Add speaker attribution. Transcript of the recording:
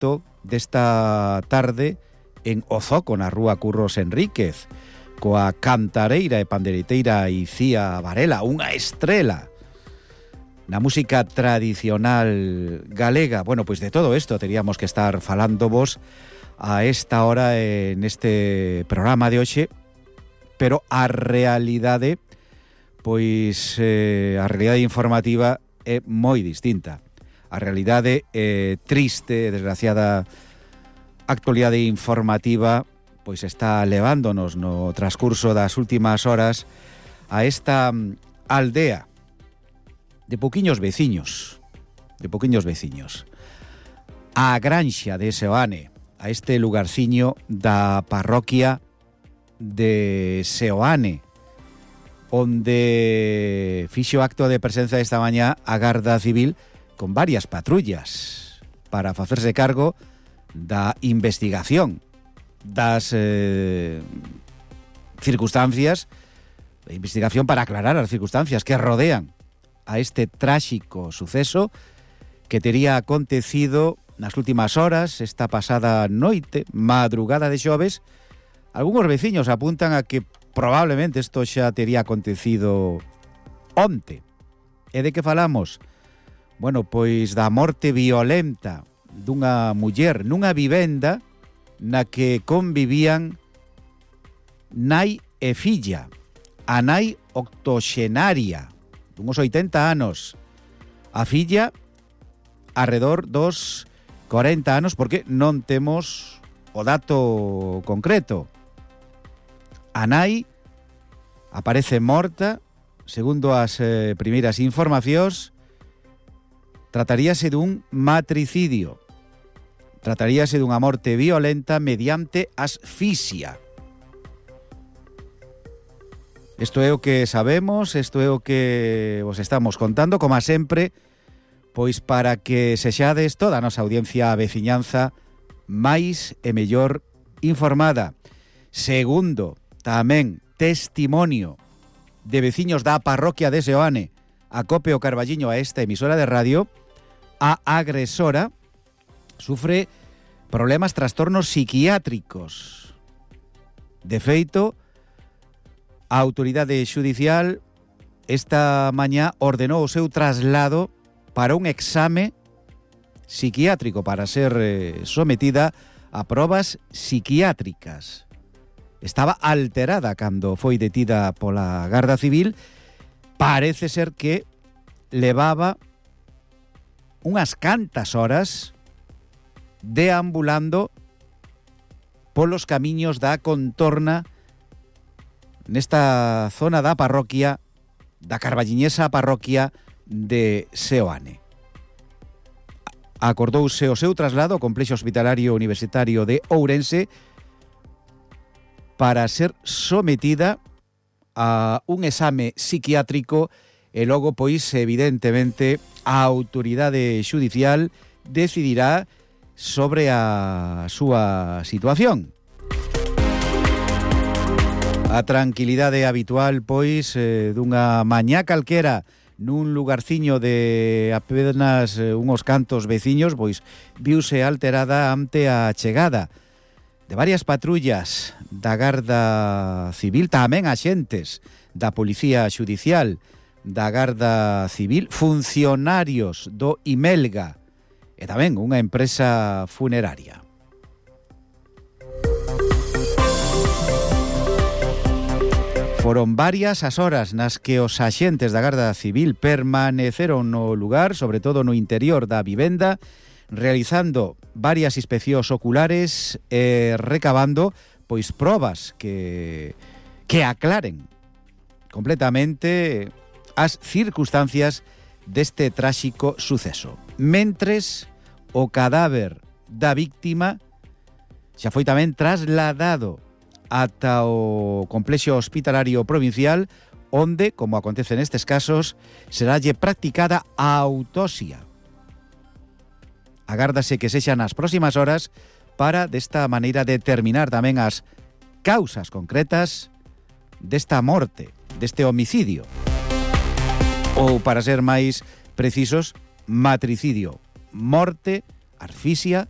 Speaker 1: acto desta tarde en Ozoco, na rúa Curros Enríquez, coa cantareira e pandereteira Icía Varela, unha estrela na música tradicional galega. Bueno, pois de todo isto teríamos que estar falándovos a esta hora neste programa de hoxe, pero a realidade, pois a realidade informativa é moi distinta. A realidade triste, desgraciada actualidade informativa, pois está levándonos no transcurso das últimas horas a esta aldea de pouquiños veciños, a granxa de Seoane, a este lugarciño da parroquia de Seoane, onde fixo acto de presenza esta mañá a Garda Civil con varias patrullas para facerse cargo da investigación das circunstancias, de investigación para aclarar as circunstancias que rodean a este tráxico suceso que tería acontecido nas últimas horas, esta pasada noite, madrugada de xoves. Algúns veciños apuntan a que probablemente isto xa tería acontecido onte. E de que falamos? Bueno, pois da morte violenta dunha muller nunha vivenda na que convivían nai e filla. A nai octoxenaria, dunhos 80 anos. A filla, arredor dos 40 anos, porque non temos o dato concreto. A nai aparece morta, segundo as primeiras informacións. Trataríase dun matricidio. Trataríase dunha morte violenta mediante asfixia. Isto é o que sabemos, isto é o que vos estamos contando, como sempre, pois para que sexades toda a nosa audiencia a veciñanza máis e mellor informada. Segundo, tamén testimonio de veciños da parroquia de Seoane, acope o carballiño a esta emisora de radio, a agresora sufre problemas, trastornos psiquiátricos. De feito, a autoridade xudicial esta mañá ordenou o seu traslado para un exame psiquiátrico para ser sometida a probas psiquiátricas. Estaba alterada cando foi detida pola Garda Civil. Parece ser que levaba unhas cantas horas deambulando polos camiños da contorna nesta zona da parroquia, da carballiñesa parroquia de Seoane. Acordouse o seu traslado ao complexo hospitalario universitario de Ourense para ser sometida a un exame psiquiátrico e logo, pois, evidentemente, a autoridade xudicial decidirá sobre a súa situación. A tranquilidade habitual, pois, dunha mañá calquera nun lugarciño de apenas unhos cantos veciños, pois viuse alterada ante a chegada de varias patrullas da Garda Civil, tamén axentes da Policía Xudicial, da Garda Civil, funcionarios do Imelga e tamén unha empresa funeraria. Foron varias as horas nas que os axentes da Garda Civil permaneceron no lugar, sobre todo no interior da vivenda, realizando varias inspeccións oculares e recabando pois probas que aclaren completamente as circunstancias deste tráxico suceso. Mentres o cadáver da víctima xa foi tamén trasladado ata o complexo hospitalario provincial, onde, como acontece nestes casos, seralle practicada a autopsia. Agárdase que sexan nas próximas horas para, desta maneira, determinar tamén as causas concretas desta morte, deste homicidio. Ou, para ser máis precisos, matricidio. Morte, asfixia